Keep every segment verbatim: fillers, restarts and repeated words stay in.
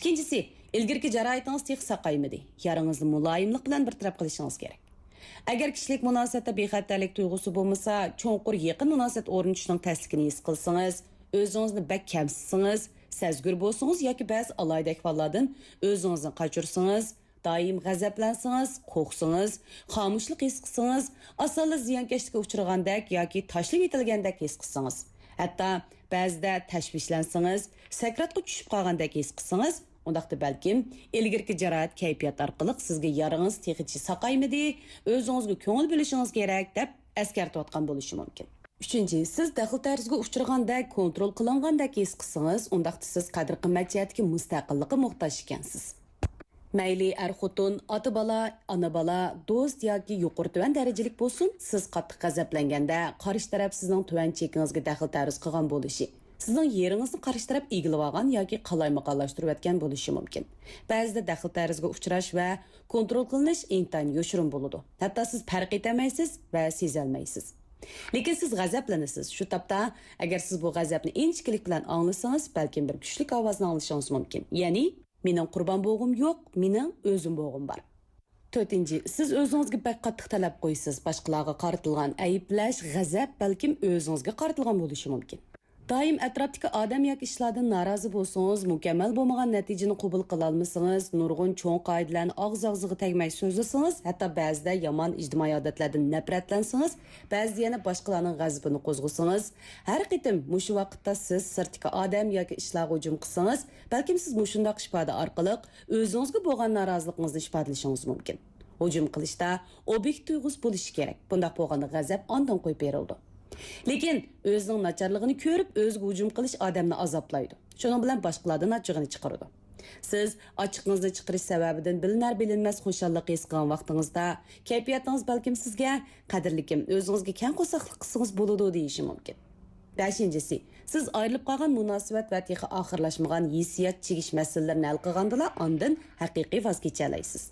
ئىككىنچىسى، ئىلگىرىكى جاراھىتىڭىز تېخى ساقايمىدى. يارىڭىزنى مۇلايىملىق بىلەن بىر تەرەپ قىلىشىڭىز كېرەك. ئەگەر كىشىلىك مۇناسىۋەتتە بىخەتەرلىك تۇيغۇسى بولمىسا، چوڭقۇر يېقىن مۇناسىۋەت ئورنىتىشنىڭ تەسلىكىنى ھېس قىلسىڭىز، ئۆزىڭىزنى بەك كەمسىتسىڭىز، سەزگۈر بولسىڭىز ياكى بەزى ئالاھىدە ئەھۋاللاردىن ئۆزىڭىزنى قاچۇرسىڭىز، دائىم غەزەپلەنسىڭىز، قورقسىڭىز، خامۇشلۇق ھېس قىلسىڭىز، ئاسانلا زىيانكەشلىككە ئۇچرىغاندەك ياكى تاشلىۋېتىلگەندەك ھېس قىلسىڭىز، ھەتتا بەزىدە تەشۋىشلەنسىڭىز، سەكراتقا چۈشۈپ قالغاندەك ھېس قىلسىڭىز، ئۇنداقتا بەلكىم ئىلگىرىكى جاراھەت كەيپىيات ئارقىلىق سىزگە يارىڭىز تېخىچە ساقايمىدى، ئۆزىڭىزگە كۆڭۈل بۆلۈشىڭىز كېرەك دەپ ئەسكەرتىۋاتقان بولۇشى مۇمكىن. ئۈچىنچى، سىز دەخلى-تەرۇزغا ئۇچرىغاندەك، كونترول قىلىنغاندەك ھېس قىلسىڭىز، ئۇنداقتا سىز قەدىر-قىممەت جەھەتتىكى مۇستەقىللىققا موھتاج ئىكەنسىز. مەيلى ئەر-خوتۇن، ئاتا-بالا، ئانا-بالا، دوست ياكى يۇقىرى-تۆۋەن دەرىجىلىك بولسۇن، سىز قاتتىق غەزەپلەنگەندە، قارشى تەرەپ سىزنىڭ تۆۋەن چېكىڭىزگە دەخلى-تەرۇز قىلغان بولۇشى، سىزنىڭ يېرىڭىزنى قارشى تەرەپ ئىگىلىۋالغان ياكى قالايمىقانلاشتۇرۇۋەتكەن بولۇشى مۇمكىن. بەزىدە دەخلى-تەرۇزغا ئۇچراش ۋە كونترول قىلىنىش ئىنتايىن يوشۇرۇن بولىدۇ. ھەتتا سىز پەرق ئېتەلمەيسىز ۋە سېزەلمەيسىز. لېكىن سىز غەزەپلىنىسىز. شۇ تاپتا، ئەگەر سىز بۇ غەزەپنى ئىنچىكىلىك بىلەن ئاڭلىسىڭىز، بەلكىم بىر كۈچلۈك ئاۋازنى ئاڭلىشىڭىز مۇمكىن. يەنى، «مېنىڭ قۇربان بوغۇم يوق، مېنىڭ ئۆزۈم بوغۇم بار.» تۆتىنچى، سىز ئۆزىڭىزگە بەك قاتتىق تەلەپ قويىسىز. باشقىلارغا قارىتىلغان ئەيىبلەش، غەزەپ بەلكىم ئۆزىڭىزگە قارىتىلغان بولۇشى مۇمكىن. دائىم ئەتراپتىكى ئادەم ياكى ئىشلاردىن نارازى بولسىڭىز، مۇكەممەل بولمىغان نەتىجىنى قوبۇل قىلالمىسىڭىز، نۇرغۇن چوڭ قائىدىلەرنى ئاغزى-ئاغزىغا تەگمەي سۆزلىسىڭىز، ھەتتا بەزىدە يامان ئىجتىمائىي ئادەتلەردىن نەپرەتلەنسىڭىز، بەزىدە يەنە باشقىلارنىڭ غەزىپىنى قوزغىسىڭىز، ھەر قېتىم مۇشۇ ۋاقىتتا سىز سىرتتىكى ئادەم ياكى ئىشلارغا ھۇجۇم قىلسىڭىز، بەلكىم سىز مۇشۇنداق ئىپادە ئارقىلىق ئۆزىڭىزگە بولغان نارازىلىقىڭىزنى ئىپادىلىشىڭىز مۇمكىن. ھۇجۇم قىلىشتا ئوبيېكت تۇيغۇسى بولۇشى كېرەك. بۇنداق بولغاندا غەزەپ ئاندىن قويۇپ بېرىلىدۇ. لېكىن ئۆزىنىڭ ناچارلىقىنى كۆرۈپ، ئۆزىگە ھۇجۇم قىلىش ئادەمنى ئازابلايدۇ. شۇنىڭ بىلەن باشقىلاردىن ئاچچىقىنى چىقىرىدۇ. سىز ئاچچىقىڭىزنى چىقىرىش سەۋەبىدىن بىلىنەر-بىلىنمەس خۇشاللىق ھېس قىلغان ۋاقتىڭىزدا، كەيپىياتىڭىز بەلكىم سىزگە، «قەدىرلىكىم، ئۆزىڭىزگە كەڭ قورساقلىق قىلسىڭىز بولىدۇ» دېيىشى مۇمكىن. بەشىنچىسى، سىز ئايرىلىپ قالغان مۇناسىۋەت ۋە تېخى ئاخىرلاشمىغان ھېسسىيات چىگىش مەسىلىلىرىنى ھەل قىلغاندىلا، ئاندىن ھەقىقىي ۋاز كېچەلەيسىز.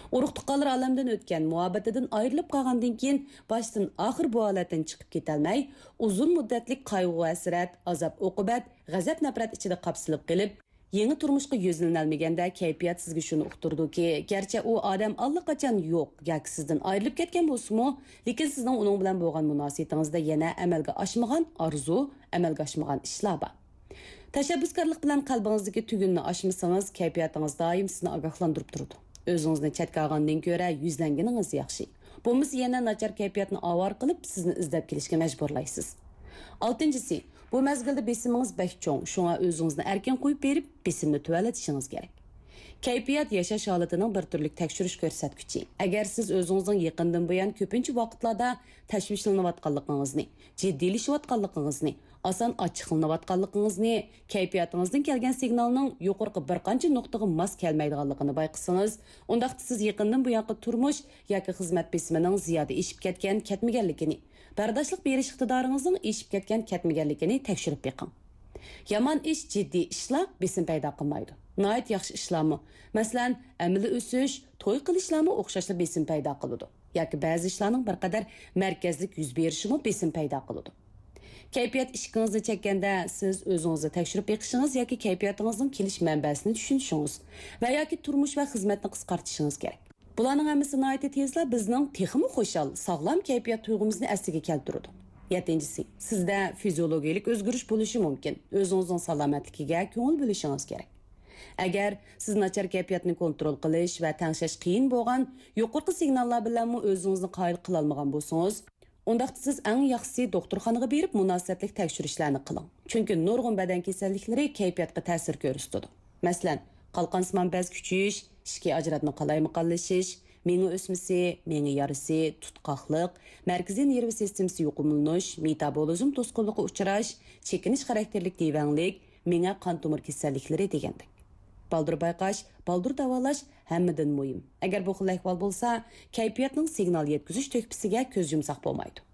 ئۇرۇق-تۇغقانلار ئالەمدىن ئۆتكەن، مۇھەببىتىدىن ئايرىلىپ قالغاندىن كېيىن، باشتىن ئاخىر بۇ ھالەتتىن چىقىپ كېتەلمەي، ئۇزۇن مۇددەتلىك قايغۇ-ھەسرەت، ئازاب-ئوقۇبەت، غەزەپ-نەپرەت ئىچىدە قاپسىلىپ قېلىپ، يېڭى تۇرمۇشقا يۈزلىنەلمىگەندە، كەيپىيات سىزگە شۇنى ئۇقتۇرىدۇكى، گەرچە ئۇ ئادەم ئاللىقاچان يوق ياكى سىزدىن ئايرىلىپ كەتكەن بولسىمۇ، لېكىن سىزنىڭ ئۇنىڭ بىلەن بولغان مۇناسىۋىتىڭىزدە يەنە ئەمەلگە ئاشمىغان ئارزۇ، ئەمەلگە ئاشمىغان ئىشلار بار. تەشەببۇسكارلىق بىلەن قەلبىڭىزدىكى تۈگۈننى ئاچمىسىڭىز، كەيپىياتىڭىز دائىم سىزنى ئاگاھلاندۇرۇپ تۇرىدۇ. ئۆزىڭىزنى چەتكە ئالغاندىن كۆرە يۈزلەنگىنىڭىز ياخشى. بولمىسا يەنە ناچار كەيپىياتنى ئاۋارە قىلىپ، سىزنى ئىزدەپ كېلىشكە مەجبۇرلايسىز. ئالتىنچىسى، بۇ مەزگىلدە بېسىمىڭىز بەك چوڭ، شۇڭا ئۆزىڭىزنى ئەركىن قويۇپ بېرىپ، بېسىمنى تۆۋەنلىتىشىڭىز كېرەك. كەيپىيات ياشاش ھالىتىنىڭ بىر تۈرلۈك تەكشۈرۈش كۆرسەتكۈچى. ئەگەر سىز ئۆزىڭىزنىڭ يېقىندىن بۇيان كۆپىنچە ۋاقىتلاردا تەشۋىشلىنىۋاتقانلىقىڭىزنى، جىددىيلىشىۋاتقانلىقىڭىزنى، ئاسان ئاچچىقلىنىۋاتقانلىقىڭىزنى، كەيپىياتىڭىزدىن كەلگەن سىگنالنىڭ يۇقىرىقى بىر قانچە نۇقتىغا ماس كەلمەيدىغانلىقىنى بايقىسىڭىز، ئۇنداقتا سىز يېقىندىن بۇيانقى تۇرمۇش ياكى خىزمەت بېسىمىنىڭ زىيادە ئېشىپ كەتكەن، كەتمىگەنلىكىنى، بەرداشلىق بېرىش ئىقتىدارىڭىزنىڭ ئېشىپ كەتكەن، كەتمىگەنلىكىنى تەكشۈرۈپ بېقىڭ. يامان ئىش، جىددىي ئىشلار بېسىم پەيدا قىلمايدۇ. ناھايىتى ياخشى ئىشلارمۇ، مەسىلەن، ئەمەلىي ئۆسۈش، توي قىلىشلارمۇ ئوخشاشلا بېسىم پەيدا قىلىدۇ. ياكى بەزى ئىشلارنىڭ بىر قەدەر مەركەزلىك يۈز بېرىشىمۇ بېسىم پەيدا قىلىدۇ. كەيپىيات ئىشىكىڭىزنى چەككەندە، سىز ئۆزىڭىزنى تەكشۈرۈپ بېقىشىڭىز ياكى كەيپىياتىڭىزنىڭ كېلىش مەنبەسىنى چۈشىنىشىڭىز ۋە ياكى تۇرمۇش ۋە خىزمەتنى قىسقارتىشىڭىز كېرەك. بۇلارنىڭ ھەممىسى ناھايىتى تېزلا بىزنىڭ تېخىمۇ خۇشال، ساغلام كەيپىيات تۇيغۇمىزنى ئەسلىگە كەلتۈرىدۇ. يەتتىنچىسى، سىزدە فىزىولوگىيىلىك ئۆزگىرىش بولۇشى مۇمكىن. ئۆزىڭىزنىڭ سالامەتلىكىگە كۆڭۈل بۆلۈشىڭىز كېرەك. ئەگەر سىز ناچار كەيپىياتنى كونترول قىلىش ۋە تەڭشەش قىيىن بولغان يۇقىرىقى سىگناللار بىلەنمۇ ئۆزىڭىزنى قايىل قىلالمىغان بولسىڭىز، ئۇنداقتا سىز ئەڭ ياخشىسى دوختۇرخانىغا بېرىپ مۇناسىۋەتلىك تەكشۈرۈشلەرنى قىلىڭ. چۈنكى نۇرغۇن بەدەن كېسەللىكلىرى كەيپىياتقا تەسىر كۆرسىتىدۇ. مەسىلەن، قالقانسىمان بەز كۈچىيىش، ئىچكى ئاجراتما قالايمىقانلىشىش، مېڭە ئۆسمىسى، مېڭە يارىسى، تۇتقاقلىق، مەركىزىي نېرۋا سىستېمىسى يۇقۇملىنىش، مېتابولىزم توسقۇنلۇقى ئۇچراش، چېكىنىش خاراكتېرلىك دېۋەڭلىك، مېڭە قان تومۇر كېسەللىكلىرى دېگەندەك. بالدۇر بايقاش، بالدۇر داۋالاش ھەممىدىن مۇھىم. ئەگەر بۇ خىل ئەھۋال بولسا، كەيپىياتنىڭ سىگنال يەتكۈزۈش تۆھپىسىگە كۆز يۇمساق بولمايدۇ.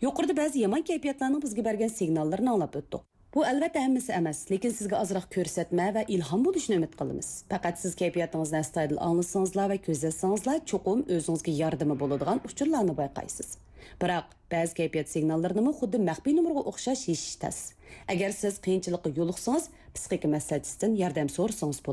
يۇقىرىدا بەزى يامان كەيپىياتلارنىڭ بىزگە بەرگەن سىگناللىرىنى ئاڭلاپ ئۆتتۇق. بۇ ئەلۋەتتە ھەممىسى ئەمەس، لېكىن سىزگە ئازراق كۆرسەتمە ۋە ئىلھام بولۇشىنى ئۈمىد قىلىمىز. پەقەت سىز كەيپىياتىڭىزنى ئەستايىدىل ئاڭلىسىڭىزلا ۋە كۆزەتسىڭىزلا، چوقۇم ئۆزىڭىزگە ياردىمى بولىدىغان ئۇچۇرلارنى بايقايسىز. بىراق، بەزى كەيپىيات سىگناللىرىنىمۇ خۇددى مەخپىي نومۇرغا ئوخشاش يېشىش تەس. ئەگەر سىز قىيىنچىلىققا يولۇقسىڭىز، پسىخىكا مەسلىھەتچىسىدىن ياردەم سورىسىڭىز بولىدۇ.